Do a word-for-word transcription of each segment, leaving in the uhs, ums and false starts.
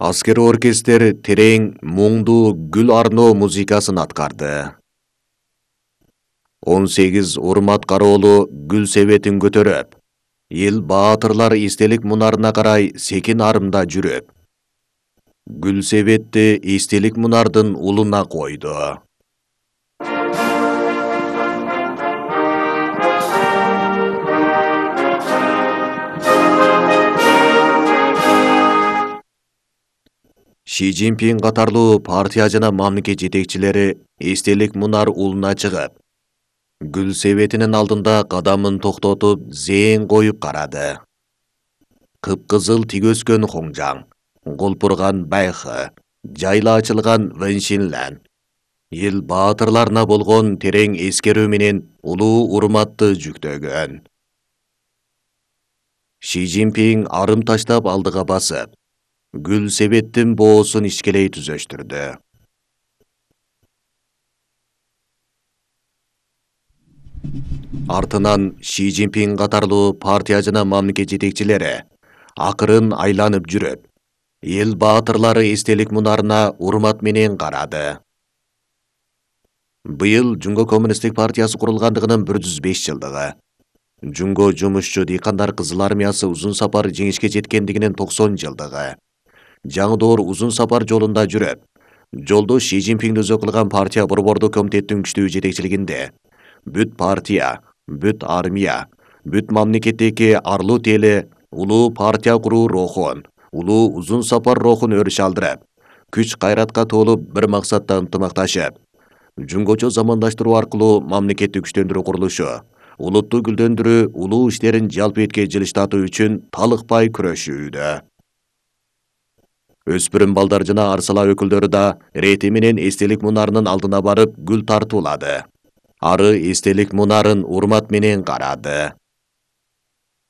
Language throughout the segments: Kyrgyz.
Аскер оркестр терең, муңдуу гүл арноо музыкасын аткарды. он сегиз урмат кароолу гүл себетин көтөрөп, эл баатырлар эстелик мунарына карай секин арымда жүрүп, гүл себетти эстелик мунардын улуна койду. Ши Цзиньпин катарлуу партия жана мамлекет жетекчилери эстелик мунар улуна чыгып, гүл себетинин алдында кадамын токтотуп, зээн коюп карады. Кыпкызыл тик өскөн Хоңжаң, колпурган Байхы, жайла ачылган Вэньшинлэн. Эл баатырларына болгон терең эскерүү менен улуу урматты жүктөгөн. Ши Цзиньпин арым таштап алдыга басып, гүл себеттин боосун ичкелей түзөштүрдү. Артынан Ши Цзиньпин катарлуу партия жана мамлекет жетекчилери акырын айланып жүрүп, эл баатырлары эстелик мунарына урмат менен карады. Быйыл Жумго коммунисттик партиясы курулгандыгынын бир жүз беш жылдыгы. Жумго жумушчу дыйкандар кызыл армиясы узун сапар жеңишке жеткендигинин токсон жылдыгы. Жаңы доор узун сапар жолунда жүрүп, жолдо Ши Цзиньпинди өзү кылган партия борбордук комитеттин күчтүү жетекчилигинде бүт партия, бүт армия, бүт мамлекеттеги арлуу теле улуу партия куруу рухун, улуу узун сапар рухун өрүш алдырып, күч кайратка толуп бир максатта ынтымакташып, жумгочо замандаштыруу аркылуу мамлекетти күчтөндүрүү курулушу, улутту гүлдөндүрүү, улуу иштерин жалпы этке жылыштатуу үчүн талыкпай күрөшүүдө. Өспүрүм балдар жана арсала өкүлдөрү да рети менен эстелик мунарынын алдына барып гүл тартуулады. Ары эстелик мунарын урмат менен карады.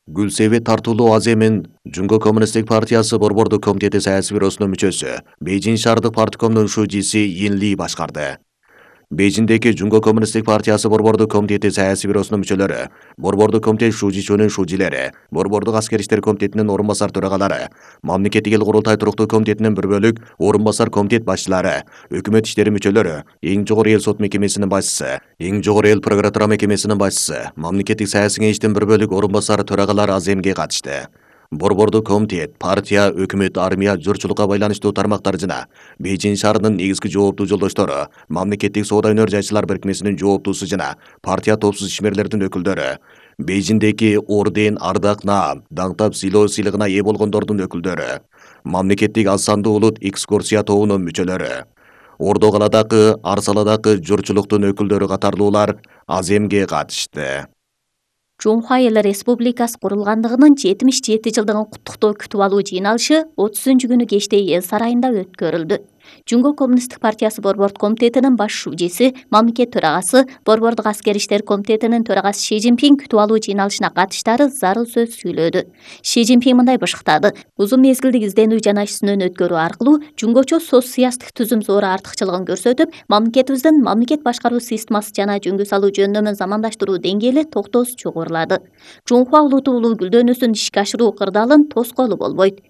Гүл себет тартуулоо аземин Жумго коммунисттик партиясы борбордук комитети саясий бюросунун мүчөсү, Бейжиң шаардык парткомдун шужиси Йин Ли башкарды. Бейжиңдеги Жумго коммунисттик партиясы борбордук комитети саясий бюросунун мүчөлөрү, борбордук комитет шужичүнүн шужилери, борбордук аскер иштер комитетинин орун басар төрагалары, мамлекеттик эл курултай туруктуу комитетинин бір бөлүк орун басар комитет башчылары, өкмөт иштери мүчөлөрү, эң жогору эл сот мекемесинин башчысы, эң жогору эл прокуратура мекемесинин башчысы, мамлекеттик саясий кеңештин бір бөлүк орун басар төрагалары аземге катышты. Борбордук комитет, партия, өкмөт, армия, журчулукка байланыштуу тармактар жана Бейжиң шаарынын негизги жооптуу жолдоштору, мамлекеттик соода өнөр жайчылар бирикмесинин жооптуусу жана партия топсуз ишмерлердин өкүлдөрү, Бейжиңдеги орден, ардак, наам, даңтап сыйлоо сыйлыгына ээ болгондордун өкүлдөрү, мамлекеттик аз сандуу улут экскурсия тобунун мүчөлөрү, Ордо каладагы, Арсаладагы журчулуктун өкүлдөрү катарлуулар аземге катышты. Жумхуа Эл Республикасы курулгандыгынын жетимиш жети жылдыгын куттуктоо күтүп алуу жыйналышы отузунчу күнү кечте Эл сарайында өткөрүлдү. Жумго коммунисттик партиясы борбордук комитетинин баш шужиси, мамлекет төрагасы, борбордук аскер иштер комитетинин төрагасы Ши Цзиньпин күтүп алуу жыйналышына катыштары зарыл сөз сүйлөдү. Ши Цзиньпин мындай бышыктады: узун мезгилдик изденүү жана иш сүнөн өткөрүү аркылуу жумгочо соцсыясаттык түзүм зор артыкчылыгын көрсөтүп, мамлекетибиздин мамлекет башкаруу системасы жана жөнгө салуу жөндөмүн замандаштыруу деңгээли токтоосуз жогорулады. Жумхуа улуту улуу гүлдөнүүсүн ишке ашыруу кырдаалын тоскоолу болбойт.